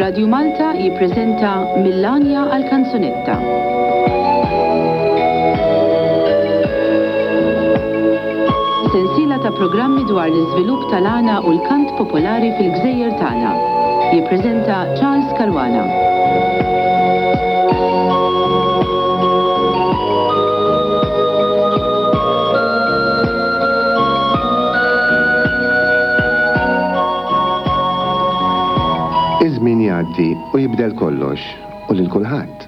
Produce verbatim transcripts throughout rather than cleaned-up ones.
Radju Malta jippreżenta Mill-Għanja għall-Kanzunetta. Sensiela ta' programmi dwar l-iżvilupp tal-għana u l-kant popolari fil-gżejjer tagħna. Jippreżenta Charles Caruana. Iż-żmien jgħaddi u jibdel kollox u lil kulħadd.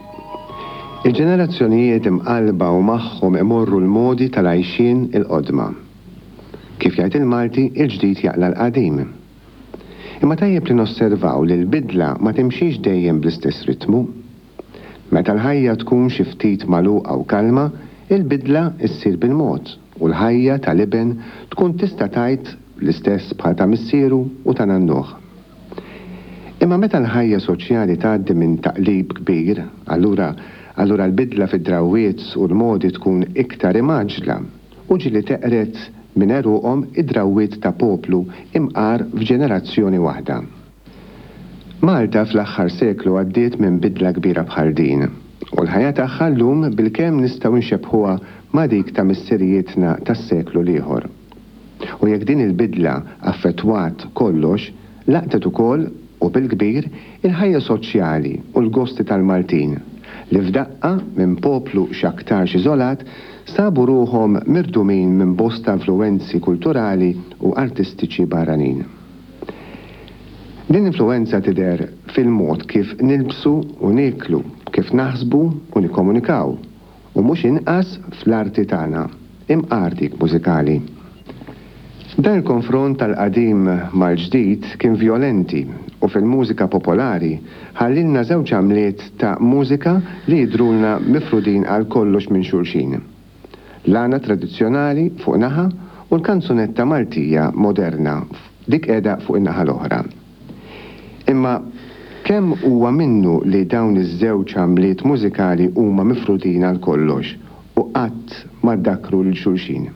Il-ġenerazzjonijiet imqalba u magħhom imorru l-modi tal-għajxien il-qodma. Kif jgħid il-Malti, il-ġdid jaqla l-qadim. Imma tajjeb li nosservaw li l-bidla ma timxix dejjem bl-istess ritmu. Meta l-ħajja tkun xi ftit magħluqa u kalma, il-bidla ssir bil-mod u l-ħajja tal-iben tkun tista' tgħid l-istess bħal ta' missieru u ta' nannuh. Imma meta l-ħajja soċjali tgħaddi minn taqlib kbir, allura allura l-bidla fid-drawwiet u l-modi tkun iktar imgħaġġla u ġieli teqred minn għeruqhom id-drawwiet ta' poplu imqar f'ġenerazzjoni waħda. Malta fl-aħħar seklu għaddiet minn bidla kbira bħal din u l-ħajja tagħha llum bilkemm nistgħu nxebbħuha ma' dik ta' missirijietna tas-seklu l-ieħor. U jekk din il-bidla affettwat kollox, laqtet ukoll u bil-kbir il-ħajja soċjali u l-gosti tal-Maltin, li f'daqqa minn poplu x'aktarx iżolat sabu ruħhom mirdumin minn bosta influwenzi kulturali u artistiċi barranin. Din l-influwenza tidher fil-mod kif nilbsu u nieklu, kif naħsbu u nikkomunikaw, u mhux inqas fl-arti tagħna, imqar dik mużikali. Dan il-konfront tal-qadim mal-ġdid kien vjolenti u fil-mużika popolari ħallilna żewġ għamliet ta' mużika li jidhrulna mifrudin għal kollox minn xulxin. L-għana tradizzjonali fuq naħa u l-kanzunetta Maltija moderna dik qiegħda fuq in-naħa l-oħra. Imma kemm huwa minnu li dawn iż-żewġ għamliet mużikali huma mifrudin għal kollox u qatt ma ddakru lil xulxin?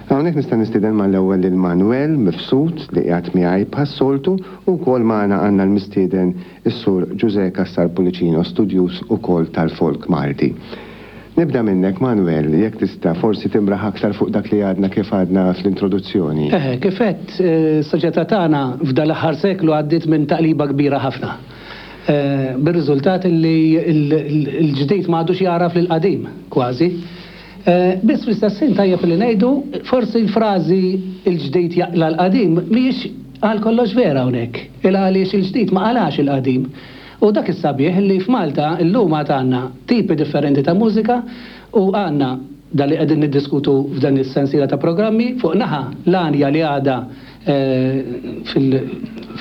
Hawnhekk nista' nistieden mal-ewwel lil Manuel Mifsud li qiegħed miegħi bħas-soltu u wkoll magħna għandna l-mistieden is-Sur Ġużè Cassar Pullicino, studjuż ukoll tal-folk Malti. Nibda minnek Manuel, jekk tista' forsi timraħ aktar fuq dak li għadna kif għadna fl-introduzzjoni. Eħe, kif għedt, is-soċjetà tagħna f'dan l-aħħar seklu għaddiet minn taqliba kbira ħafna. Bir-riżultat li l-ġdid ma għadux jagħraf lill-qadim kważi. Biss fl-istess ħin tajjeb li ngħidu forsi l-frażi il-ġdid jaqla l-qadim mhijiex għal kollox vera hawnhekk. Il għaliex il-ġdid ma qalax il-qadim. U dak is-sabiħ li f'Malta llum għad għandna tipi differenti ta' mużika u għandna dan li qegħdin niddiskutu f'dan is-sensiela ta' programmi fuq naħa l-għanja li għadha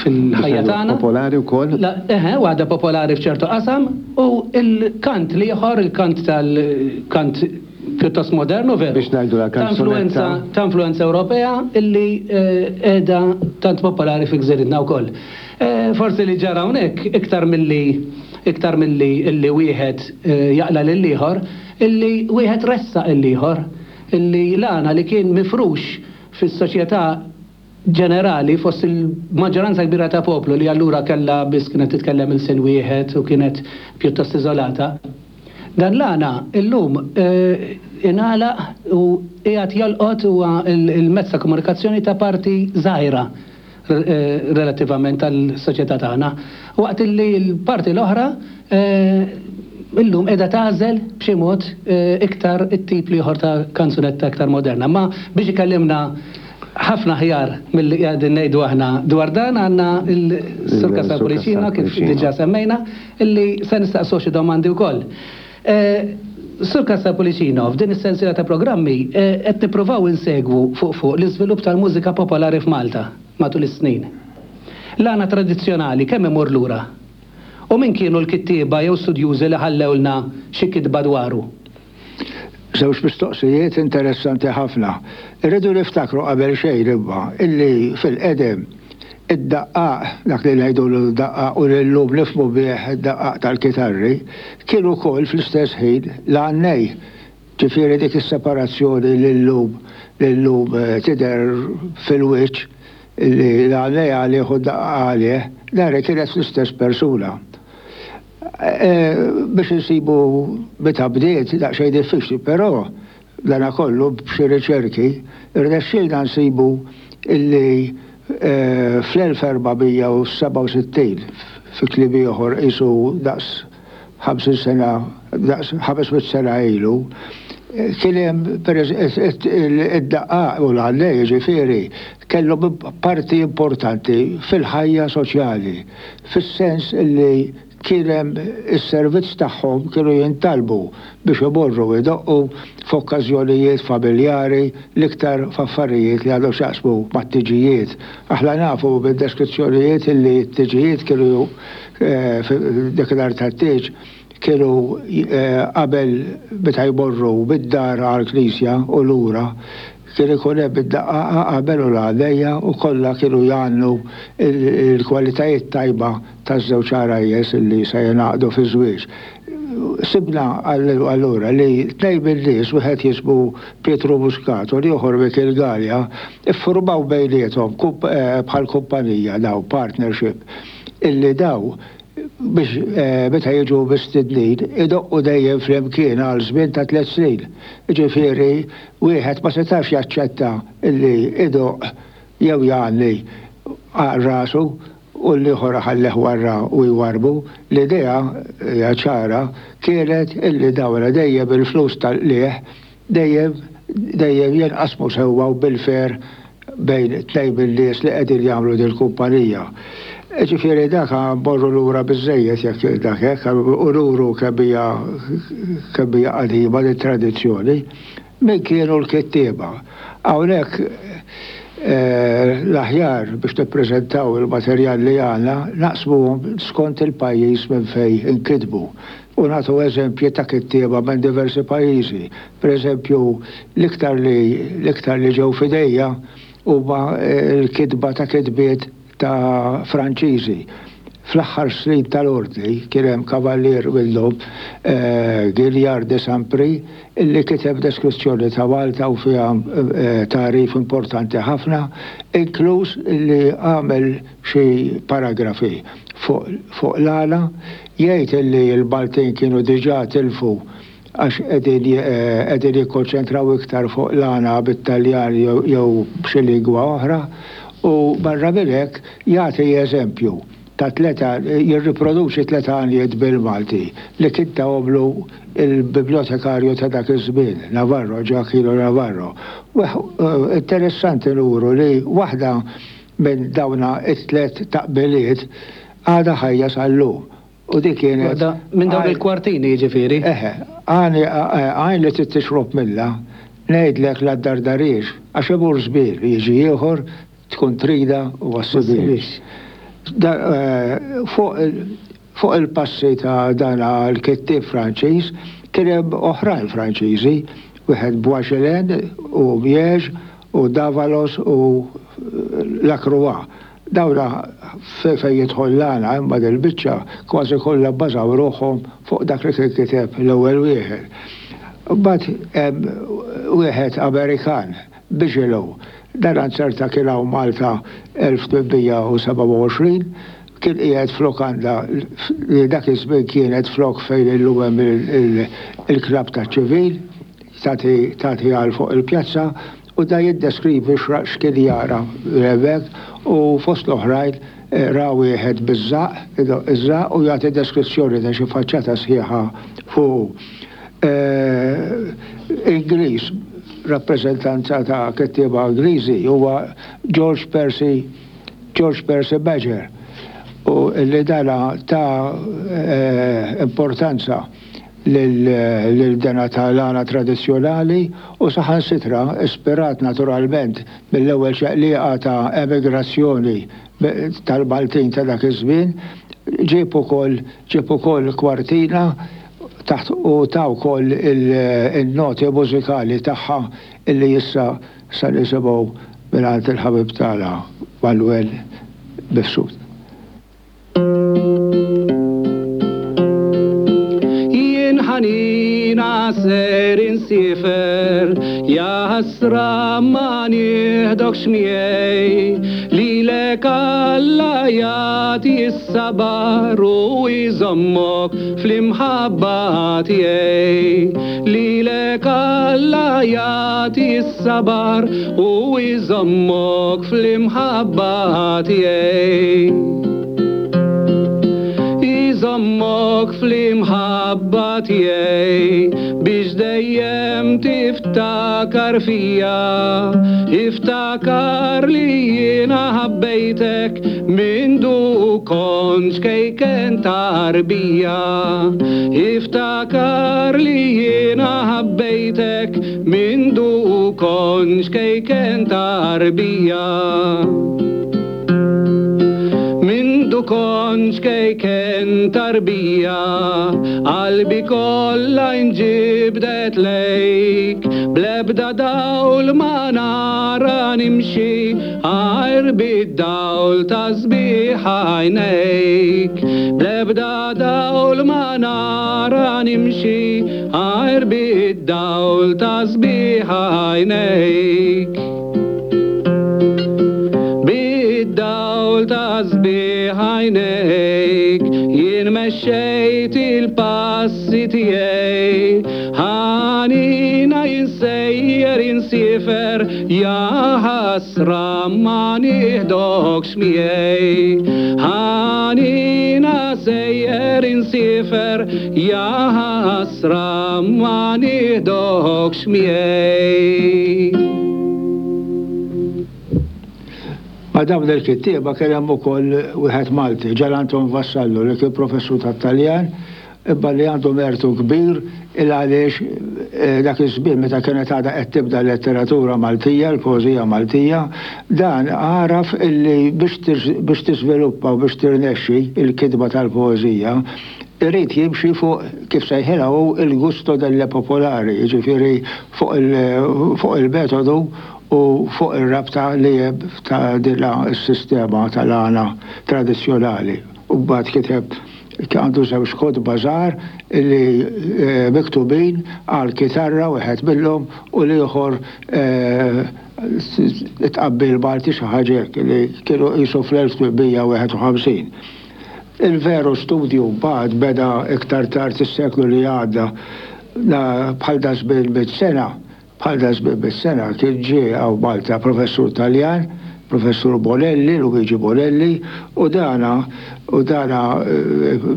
fil-ħajja tagħna. Popolari wkoll? Eħe, u għadha popolari f'ċertu qasam u l-kant l-ieħor, il-kant tal-kant pjuttost modernu veru. Biex ngħidu la kanzunetta. Ta' influenza Ewropea illi qiegħda tant popolari fi gżiritna wkoll. Forsi li ġara hawnhekk iktar milli iktar milli illi wieħed jaqla lil ieħor, illi wieħed ressaq il ieħor, illi l-għana li kien mifrux fis-soċjetà ġenerali fost il-maġġoranza kbira ta' poplu li allura kellha biss kienet titkellem il-sin wieħed u kienet pjuttost iżolata. Dan l-għana illum ingħalaq u qiegħed jolqot huwa il-mezz ta' komunikazzjoni ta' parti żgħira relattivament tal-soċjetà tagħna. Waqt li l-parti l-oħra illum qiegħda tagħżel b'xi mod iktar it-tip l-ieħor ta' kanzunetta iktar moderna. Ma biex ikellimna ħafna ħjar milli qegħdin ngħidu aħna dwar dan għandna l-Sur Cassar Pullicino kif diġà semmejna illi se nistaqsu xi domandi wkoll. Sur Cassar Pullicino, f'din is-sensiela ta' programmi qed nippruvaw insegwu fuq fuq l-iżvilupp tal-mużika popolari f'Malta matul is-snin. L-għana tradizzjonali kemm imur lura? U min kienu l-kittieba jew studjużi li ħallewlna xi kitba dwaru? Żewġ mistoqsijiet interessanti ħafna. Irridu niftakru qabel xejn imma illi fil-qedem id-daqqaq, dak li ngħidu l-daqqaq u llum nifhmu bih id-daqqaq tal-kitarri, kienu wkoll fl-istess ħin l-għannej. Ġifieri dik is-separazzjoni li llum li llum tidher fil-wiċċ li l-għannej għalih u d-daqqaq għalih, dari kienet l-istess persuna. Biex insibu meta bdiet daqsxejn diffiċli, però dana kollu b'xi riċerki irnexxielna nsibu illi fl-elf erba' mija u sebgħa u sittin fi kliem ieħor qisu daqs ħamsin sena, daqs ħames mitt sena ilu, kien hemm id-daqqaq u l-għannej jiġifieri kellhom parti importanti fil-ħajja soċjali, fis-sens illi kien hemm is-servizz tagħhom kienu jintalbu biex imorru idoqqu f'okkażjonijiet familjari, l-iktar f'affarijiet li għandhom x'jaqsmu mat-tiġijiet. Aħna nafu minn deskrizzjonijiet illi t-tiġijiet kienu, eh, dakinhar tat-tieġ kienu, eh, qabel meta jmorru bid-dar għall-knisja u lura, kien ikun hemm id-daqqaqa qabel u l-għanejja u kollha kienu jgħannu il-kwalitajiet tajba taż-żewġ għarajjes illi se jingħaqdu fi żwieġ. Sibna allura li tnejn min-nies, wieħed jismu Pietro Muscat u l-ieħor Michel Galea, iffurmaw bejniethom eh, bħal kumpanija daw partnership illi daw biex, eh, meta jiġu mistednin idoqqu dejjem flimkien għal żmien ta' tliet snin. Ġifieri wieħed ma setax jaċċetta illi idoqq jew jgħanni għal rasu u l-ieħor ħalleh warra u jwarbu. L-idea hija ċara kienet illi dawra dejjem il-flus tal-qligħ dejjem dejjem jinqasmu sewwa u bil-fer bejn tnejn min-nies li qegħdin jagħmlu dil-kumpanija. Ġifieri dak morru lura biżejjed jekk dak hekk, u nuru kemm hija kemm hija qadima din tradizzjoni. Min kienu l-kittieba? Hawnhekk, eh, l-aħjar biex tippreżentaw il-materjal li għandna naqsmuhom skont il-pajjiż minn fejn inkitbu. U nagħtu eżempji ta' kittieba minn diversi pajjiżi. Per eżempju, l-iktar li, l-iktar li ġew f'idejja huma l-kitba ta' kitbiet ta' Franċiżi. Fl-aħħar snin tal-ordni kien hemm kavallier minnhom, eh, Gilliard de Saint-Prix, illi kiteb deskrizzjoni ta' Malta u fiha, eh, tagħrif importanti ħafna, inkluż illi għamel xi paragrafi fuq, fuq l-għana, jgħid illi l-Maltin kienu diġà tilfu għax qegħdin, eh, qegħdin jikkonċentraw iktar fuq l-għana bit-Taljan jew, jew b'xi lingwa oħra, u barra minn hekk jagħti eżempju ta' tleta, jirriproduċi tleta għanjiet bil-Malti li kien tahomlu il-bibliotekarju ta' dak iż-żmien, Navarro, Gioacchino Navarro. Weħ, eh, interessanti nuru li waħda minn dawna it-tlet taqbiliet għadha ħajja sal-lum. U dik kienet Waħda minn dawn għaj- il-kwartini jiġifieri. Eħe, għani, għajn li trid tixrob minnha, ngħidlek la dardarix, għax imur żbir, jiġi ieħor tkun trida u għas-sibiex. Da, eh, fuq il-, fuq il-passi ta' dan l-kittieb Franċiż, kien hemm oħrajn Franċiżi, wieħed Boisgelin u Miege u Davalos u Lacroix. Dawna fe-, fejn jidħol l-għana, imma dil-biċċa kważi kollha bbażaw ruħhom fuq dak li kien kiteb l-ewwel wieħed. Mbagħad hemm wieħed Amerikan, Bigelow, dan anzerta kien hawn Malta elf tmien mija u sebgħa u għoxrin, kien qiegħed f'lokanda li dak iż-żmien kienet flok fejn illum hemm il-, il-, il-klabb taċ-ċivil, tagħti, tagħti għal fuq il-pjazza, u da jiddeskrivi x'ra-, x'kien jara hemmhekk, u fost l-oħrajn, eh, ra wieħed biż-żaqq, iż-żaqq, u jagħti deskrizzjoni ta' xi faċċata sħiħa fuq. Eh, Ingliż, rappreżentanza ta' kittieba Ingliżi huwa George Percy, George Percy Major, u li dana ta', eh, importanza lil, lil dana tal-għana tradizzjonali u saħansitra ispirat naturalment mill-ewwel ċaqliqa ta' emigrazzjoni tal-Maltin ta' dak iż-żmien, ġieb ukoll, ġieb ukoll kwartina taħt u ta' wkoll il-, il-noti mużikali tagħha illi issa sa nisimgħu mingħand il-ħabib tagħna Manuel Mifsud. Jien ħanina ser insifer, ja ħasra ma nieħdokx miegħi, li Lilek Alla jagħti s-sabar u jżommok fl-imħabba tiegħi. Lilek Alla jagħti s-sabar u jżommok fl-imħabba tiegħi. Jżommok fl-imħabba tiegħi biex dejjem tiftakar fija. Iftakar li jiena ħabbejtek mindu kont ċkejken tarbija. Iftakar li jiena ħabbejtek mindu kont ċkejken tarbija. Mindu kont ċkejken tarbija, qalbi kollha inġibdet lejk, bl-ebda dawl ma nara nimxi, għajr bid-dawl ta' sbieħ għajnejk. Bl-ebda dawl ma nara nimxi, għajr bid-dawl ta' sbieħ għajnejk. Bid-dawl ta' sbieħ għajnejk, jien mexxejt il-passi tiegħi. Ħanina jien sejjer insiefer, ja ħasra ma nieħdokx miegħi. Ħanina sejjer insiefer, ja ħasra ma nieħdokx miegħi. Ma dawn il-kittieba kien hemm ukoll wieħed Malti, Ġan Anton Vassallo, li kien professur tat-Taljan, imma li għandu mertu kbir il għaliex dak iż-żmien meta kienet għadha qed tibda l-letteratura Maltija, l-poeżija Maltija, dan għaraf illi biex tiżviluppa u biex tirnexxi il-kitba tal-poeżija, irid jimxi fuq kif sejħilha hu il-gusto delle popolari, jiġifieri fuq il-metodu u fuq ir-rabta li ta' din is-sistema tal-għana tradizzjonali. U mbagħad kiteb għandu żewġ kotba żgħar li miktubin għal kitarra wieħed minnhom u l-ieħor tqabbil Malti xi ħaġa hekk li kienu qisu fl-elf tmien mija wieħed u ħamsin. Il-veru studju mbagħad beda iktar tard is-seklu li għadda, bħal da żmien mitt sena, bħal da żmien mitt sena kien ġie hawn Malta professur Taljan, professur Bonelli, Luigi Bonelli, u dana u dana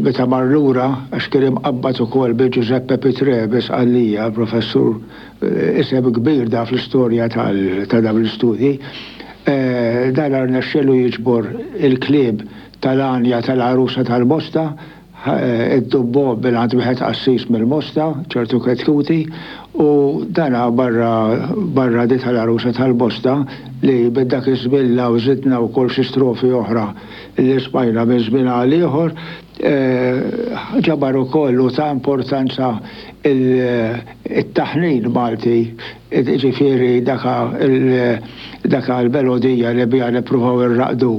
meta mar lura għax kien imqabbad ukoll bi Giuseppe Pitrè bi Sqallija, professur isem kbir da fl-istorja ta' dawn l-istudji, dan rnexxielu jiġbor il-klieb tal-għanja tal-għarusa tal-Mosta, id-dubbo bil-għand wieħed qassis mill-Mosta, ċertu Chetcuti, u dana barra barra di tal-għarusa tal-Mosta li bid-dak iż-żmien u żidna wkoll xi strofi oħra li smajna minn żmien għal ieħor, ġabar ukoll u ta' importanza it-taħnin Malti, ġifieri daka l-melodija li biha nippruvaw irraqdu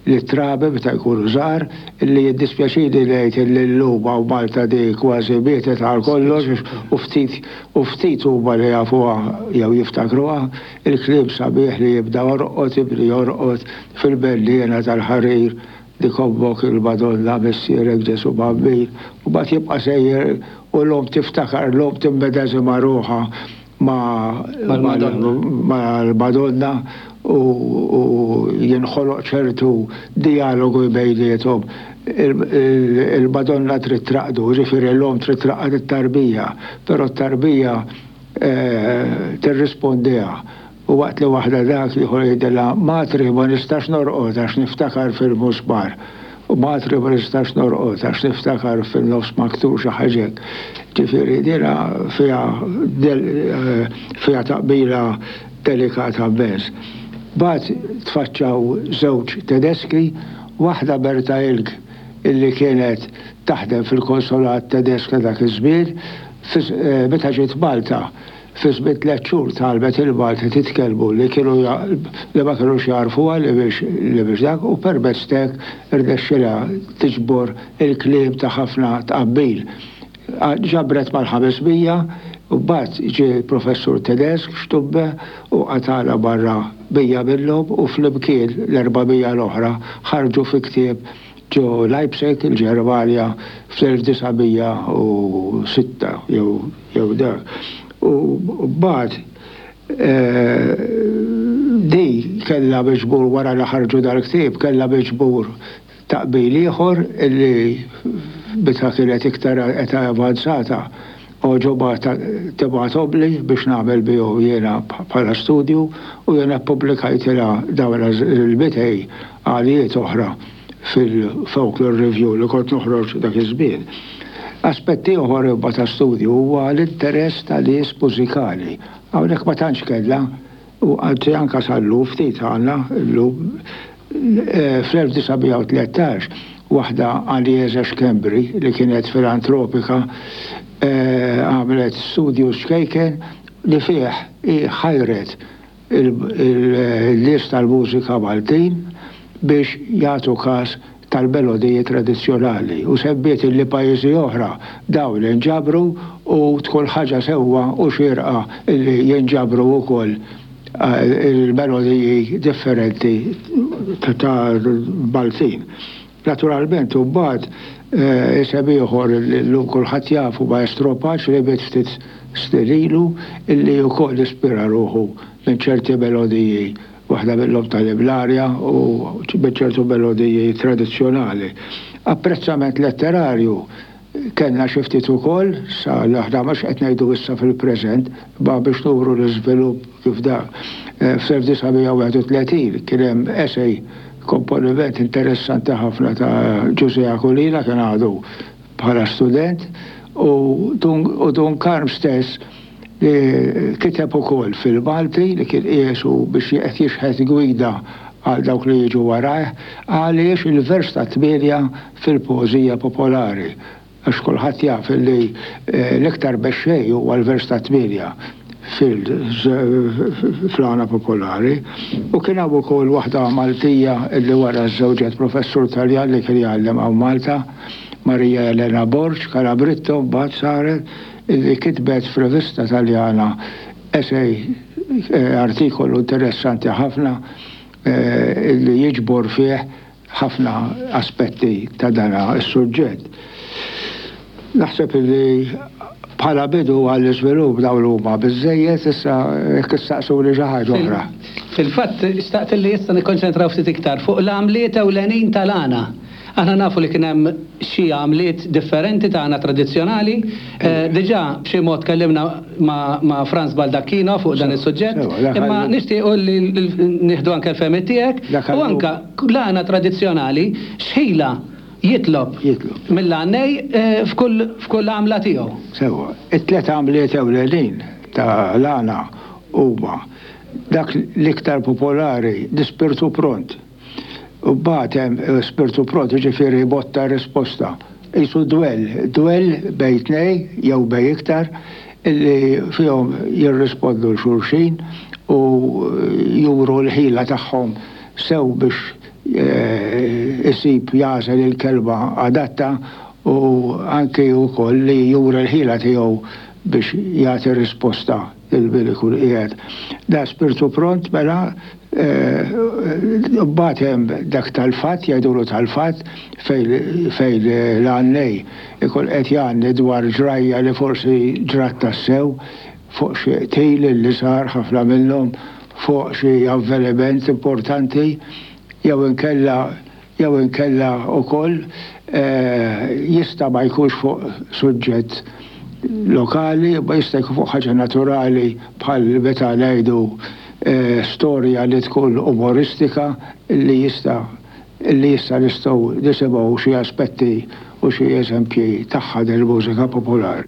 li trabi meta jkunu żgħar, li jiddispjaċini ngħid li llum hawn Malta di kważi mietet għal kollox u ftit u ftit huma li jafuha jew jiftakruha, il-kliem sabiħ li jibda orqod ibni jorqod fil-belliena tal-ħarir dik ommok il-Madonna missierek Ġesu Bambin, u mbagħad jibqa' sejjer u l-omm tiftakar, l-omm timmedeżima ruħha mal-Madonna u jinħoloq ċertu dialogu bejniethom. Il-Madonna trid traqdu, ġifieri l-omm trid traqqad it-tarbija, però t-tarbija tirrispondiha. U waqt li waħda dak ieħor jgħidilha, Matri ma nistax norqod għax niftakar fil-musmar. U Matri ma nistax norqod għax niftakar fil-nofs maktur xi ħaġa hekk. Ġifieri dina fiha fiha taqbila delikata immens. Mbagħad tfaċċaw żewġ Tedeski, waħda Berta Ilg illi kienet taħdem fil-konsolat Tedesk ta' dak iż-żmien, meta ġiet Malta, fi żmien tliet xhur talbet il-Malti titkellmu li kienu li ma kinux jarfuha li biex li biex dak u permezz t'hekk irnexxilha tiġbor il-kliem ta' ħafna tqabbil. Ġabret mal-ħames mija u mbagħad ġie professur Tedesk Stubbe u qatala barra bija minnhom u flimkien l-erba' mija l-oħra ħarġu fi ktieb ġo Leipzig, il-Ġermanja, fl-elf disa' mija u sitta jew, jew dak. U mbagħad, eh, di kellha miġbur wara li ħarġu dal-ktieb, kellha miġbur taqbil ieħor illi meta kienet iktar età avanzata oġoba tibgħathomli biex nagħmel bihom jiena bħala studju, u jiena ppubblikajtilha dawn il-mitej għalijiet oħra fil-Folklore Review li kont noħroġ dak iż-żmien. Aspetti oħra imma ta' studju huwa l-interess tal-nies mużikali. Hawnhekk ma tantx kellha, u anzi anke sal-lum ftit għandna llum, eh, fl-elf disa' mija u tlettax waħda Agnese Schembri li kienet filantropika, eh, għamlet studju xkejken li fih ħajret il-nies tal-mużika Maltin biex jagħtu każ tal-melodiji tradizzjonali, u sebbiet li pajjiżi oħra dawn inġabru u tkun ħaġa sewwa u xierqa li jinġabru wkoll, eh, il-melodiji differenti ta' Maltin. Naturalment, u mbagħad, eh, isem ieħor li llum kulħadd jafu Maestro Pace li miet ftit snin ilu, illi wkoll ispira ruħu minn ċerti melodiji, waħda minnhom tal-Iblarja u minn ċertu melodiji tradizzjonali. Apprezzament letterarju kellna xi ftit ukoll, sa l-aħna mhux qed ngħidu issa fil-preżent, ma biex nuru l-iżvilupp kif dak. Eh, fl-elf disa' mija u wieħed u tletin kien hemm essay komponiment interessanti ħafna ta' Ġużè Aquilina, kien għadu bħala student, u Dun, u Dun Karm stess li kiteb ukoll fil-Malti li kien qiesu biex qed jixħet gwida għal dawk li jiġu warajh, għaliex il-vers ta' tmienja fil-poeżija popolari. Għax kulħadd jaf li, eh, l-iktar mexxej huwa l-vers ta' tmienja fil-għana popolari. U kien hawn ukoll waħda Maltija li wara żewġet professur Taljan li kien jgħallem hawn Malta, Maria Elena Borg, Calabritto, mbagħad saret, illi kitbet f'rivista Taljana essay, eh, artikolu interessanti ħafna, eh, illi jiġbor fih ħafna aspetti ta' dan is-suġġett. Naħseb illi bħala bidu għall-iżvilupp dawn huma biżżejjed, issa jekk issaqsuni xi ħaġa oħra. Fil-fatt, xtaqt li issa nikkonċentraw ftit iktar fuq l-għamliet ewlenin tal-għana. Aħna nafu li kien hemm xi għamliet differenti ta' għana tradizzjonali. Eh, diġà b'xi mod tkellimna ma', ma' Franz Baldacchino fuq dan is-suġġett, Sewa, dak imma għallu- nixtiequ li nieħdu anke l-fehmiet tiegħek Dak u għallu- anke l-għana tradizzjonali x'ħila jitlob Jitlob. mill-għannej, eh, f'kull, f'kull għamla tiegħu. Sewa, it-tliet għamliet ewlenin ta' l-għana huma dak l-iktar popolari, l-ispirtu pront. U mbagħad hemm, eh, spirtu pront, jiġifieri botta risposta. Isu dwell, dwell bejn tnej jew bejn iktar illi fihom jirrispondu l-xulxin u juru l-ħila tagħhom sew biex, eh, isib jażel il-kelma adatta u anke wkoll li juru l-ħila tiegħu biex jagħti risposta lil min ikun qiegħed. Da spirtu pront mela, eh, mbagħad hemm dak tal-fatt, jgħidulu tal-fatt, fejn, fejn l-għannej ikun qed jgħanni dwar ġrajja li forsi ġrat tassew fuq xi qtil li sar ħafna minnhom, fuq xi avveniment importanti, jew inkella, jew inkella wkoll, eh, jista' ma jkunx fuq suġġett lokali, ma jista' jkun fuq ħaġa naturali bħal meta ngħidu, eh, storja li tkun umoristika li jista' li jista' nistgħu nisimgħu xi aspetti u xi eżempji tagħha del-mużika popolari.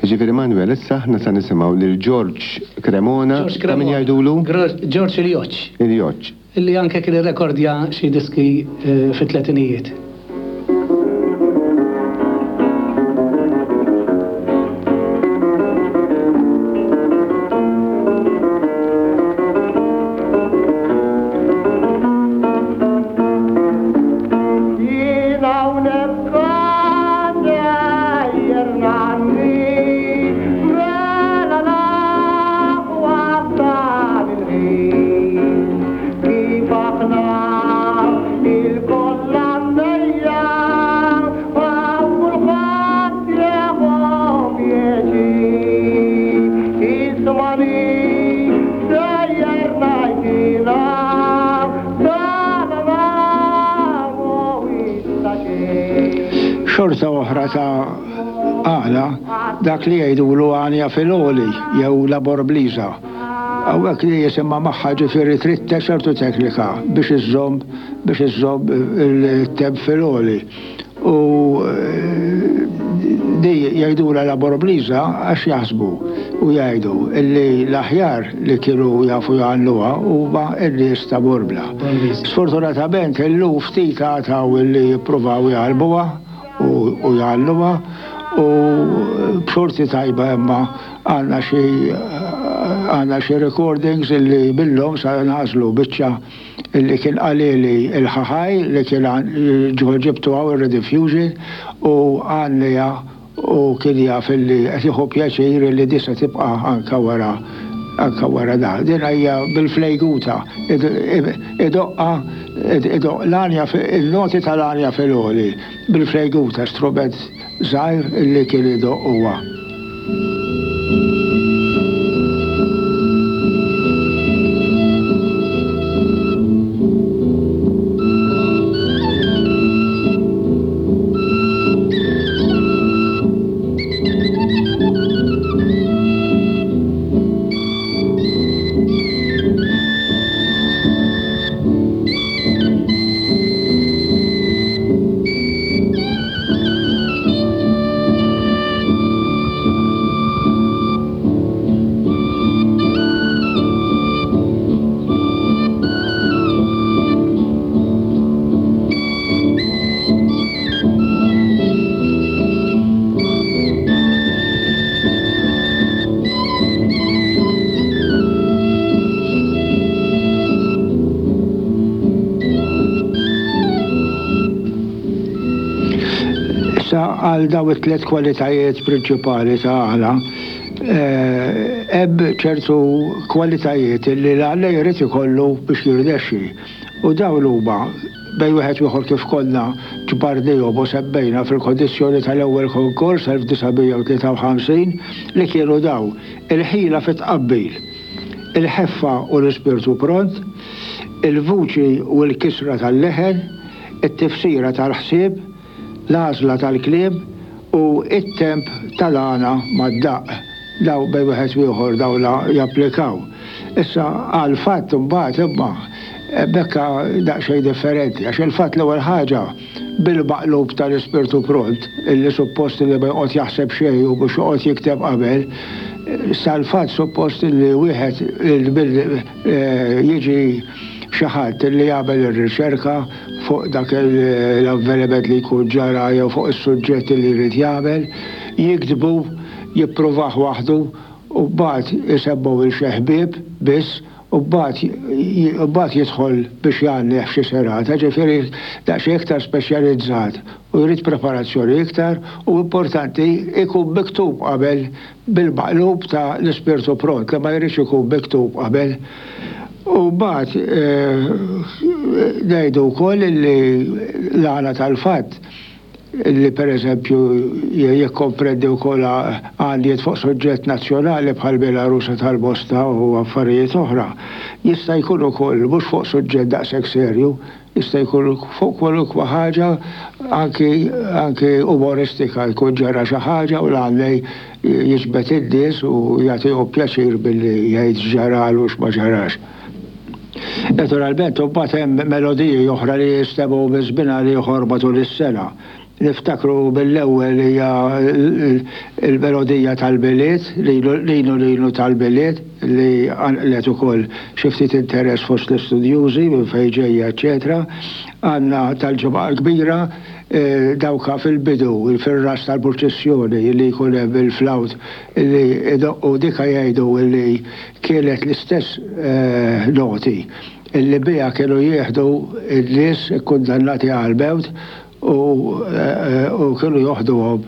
Ġifieri Manuel, issa aħna sa nisimgħu lil George Cremona, George ta' min Cremona. jgħidulu? Gro-, George Il-Joċ. Il-Joċ. Illi anke kien irrekordja xi diski, eh, fit-tletinijiet. Thank you. Il-koll għannejja għaw kulħadd jieħu pjaċir. Ismani sejjer ngħidilha dana mhuwiex ta' xejn. Xorta oħra ta' għana, dak li jgħidulu għanja fil-għoli jew la borbliża. Hawnhekk li jisimma magħha, ġifieri trid ċertu teknika biex iżżomm biex iżżomm il-temp fil-għoli. U eh, di jgħidula la borbliża għax jaħsbu u jgħidu illi l-aħjar li kienu jafu jgħannuha huma n-nies ta' Borbla. Sfortunatament illum ftit għataw illi jippruvaw jgħalbuha u u jgħalluha u b'xorti tajba imma għandna xi għandna xi recordings illi billhom sa nagħżlu biċċa illi kien qalili il-ħaħaj li kien ġo ġibtu hawn ir-Rediffusion u għannija u kien jaf illi qed jieħu pjaċir illi di se tibqa' anka wara anka wara da. Din hija bil-flejguta, idoqqa idoq l-għanja, il-noti tal-għanja fil-għoli bil-flejguta, strument żgħir illi kien idoq huwa. Issa għal daw it-tliet kwalitajiet prinċipali ta' għana, hemm ċertu kwalitajiet li l-għallej jrid ikollu biex jirnexxi. U dawn huma bejn wieħed u ieħor kif konna ġbarnihom u semmejna fil-kondizzjoni tal-ewwel konkors elf disa' mija u tlieta u ħamsin, li kienu daw: il-ħila fit-tqabbil, il-ħeffa u l-ispirtu pront, il-vuċi u l-kisra tal-leħen, it-tifsira tal-ħsieb, l-għażla tal-kliem u it-temp tal-għana mad-daqq. Daw bejn wieħed u ieħor daw la japplikaw. Issa għal fatt imbagħad imma bekka daqsxejn differenti, għax il-fatt l-ewwel ħaġa bil-maqlub tal-ispirtu pront, illi suppost li ma joqgħod jaħseb xejn u biex joqgħod jikteb qabel, sal-fatt suppost li wieħed jiġi xi ħadd li jagħmel ir-riċerka fuq dak l-avveniment li jkun ġara jew fuq is-suġġett li jrid jagħmel, jiktbu, jippruvah waħdu u mbagħad isebbu il xi ħbieb biss u mbagħad jidħol biex jgħannih f'xi serata, ġifieri daqsxejn iktar speċjalizzat u jrid preparazzjoni iktar u importanti ikun miktub qabel, bil-maqlub ta' l-ispirtu pront li ma jridx ikun miktub qabel. U mbagħad ngħidu wkoll li l-għana tal-fatt li per eżempju jikkomprendi wkoll għandijiet fuq suġġett nazzjonali bħal Belarusa tal-Bosta u affarijiet oħra. Jista' jkun ukoll mhux fuq suġġett daqshekk serju, jista' jkun fuq kwalunkwe ħaġa, anki anki umoristika, jkun ġara xi ħaġa u l-għannej jiġbed in-nies u jagħtihom pjaċir billi jgħid x'ġaralu u x'ma ġarax. Naturalment, imbagħad hemm melodiji oħra li jistemgħu minn żmien għal ieħor matul is-sena. Niftakru mill-ewwel hija il-melodija tal-Milied, Linu Linu tal-Milied, li għanqlet ukoll xi ftit interess fost l-istudjużi minn fejn ġejja, eċetera. Għandna tal-Ġimgħa l-Kbira, dawka fil-bidu, fil-ras tal-purċissjoni li jkun hemm il-flawt li idoqqu, dika jgħidu li kienet l-istess noti illi biha kienu jieħdu n-nies ikkundannati għal-mewt u kienu joħduhom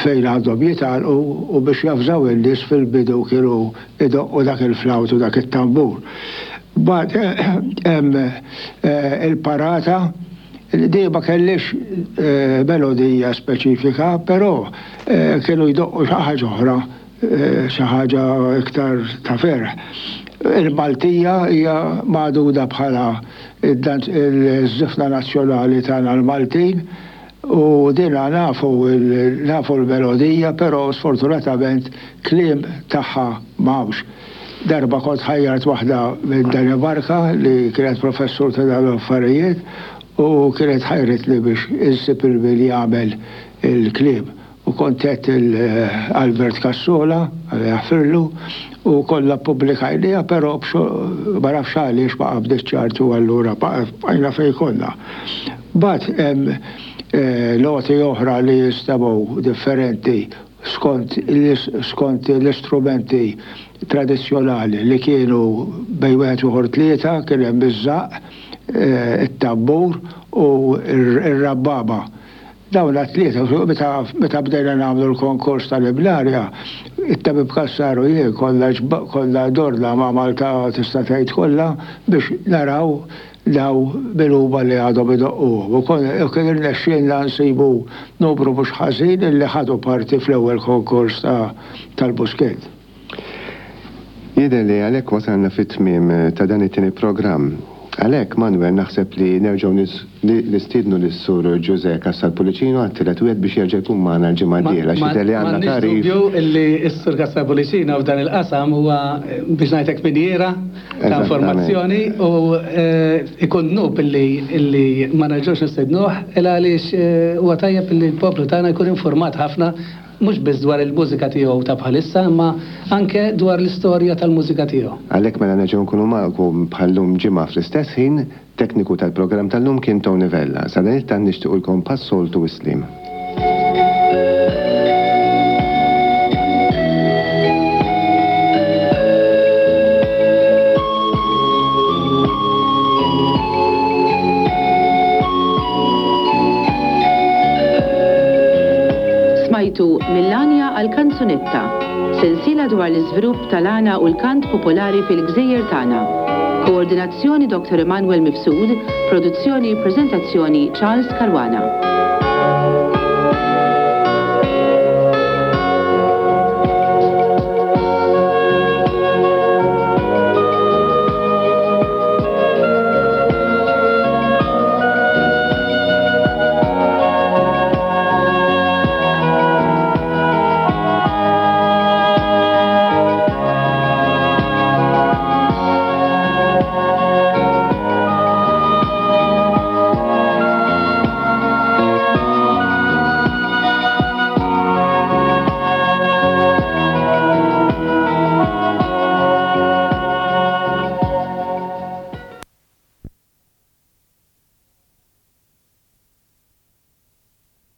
fejn għandhom jitgħalqu, u biex jafżaw in-nies fil-bidu kienu idoqqu dak il-flawt u dak it-tambur. Mbagħad hemm il-parata li ma kellix melodija speċifika, però kienu jdoqqu xi ħaġa oħra, xi ħaġa iktar ta' ferħ. Il-Maltija hija magħduda bħala il-żifna nazzjonali tagħna l-Maltin u dina nafu nafu l-melodija, però sfortunatament kliem tagħha m'hawnx. Darba kont ħajjart waħda minn Danimarka li kienet professur ta' dawn l-affarijiet u kienet ħajret li biex insib il-min jagħmel il-kliem. U kont għedt Albert Cassola, Alla jaħfirlu, u kollha ppubblikajniha, però ma nafx għaliex ma qabditx ċartu allura bqajna fejn konna. Mbagħad hemm noti oħra li jinstemgħu differenti skont skont l-istrumenti tradizzjonali li kienu bejn wieħed u ieħor tlieta, kien hemm iż-żaqq, it-tambur u r-rabbaba. Dawn t-tlieta, meta meta bdejna nagħmlu l-konkors tal-Ibnarja, it-tabib Cassar u jien kollha kollha dorna ma' Malta tista' tgħid kollha biex naraw daw min huma li għadhom idoqquhom. U kien irnexxielna nsibu numru mhux ħażin illi ħadu parti fl-ewwel konkors tal-Buskett. Jidher li għalhekk wasalna fit-tmiem ta' dan it-tieni programm. Għalhekk, Manuel, naħseb li nerġgħu nistiednu lis-Sur Ġużè Cassar Pullicino għat-tielet wieħed biex jerġa' jkun magħna l-ġimgħa d-dieħla għax jidher li għandna M'għandniex tagħrif. dubju illi s-Sur Cassar Pullicino f'dan il-qasam huwa biex ngħidlek minjiera ta' informazzjoni u ikun dnub illi illi ma nerġgħux nistednuh il għaliex huwa tajjeb illi l-poplu tagħna jkun informat ħafna mhux biss dwar il-mużika tiegħu ta' bħalissa, imma anke dwar l-istorja tal-mużika tiegħu. Għalhekk mela nerġgħu nkunu magħkom bħal-lum ġimgħa fl-istess ħin, tekniku tal-programm tal-lum kien Tony Vella. Sadanittant nixtiequlkom bħas-soltu is-sliem. Smajtu Mill-Għanja għal-Kanzunetta, sensiela dwar l-iżvilupp tal-għana u l-kant popolari fil-gżejjer tagħna. Koordinazzjoni Dottor Emanuel Mifsud, produzzjoni prezentazzjoni Charles Caruana.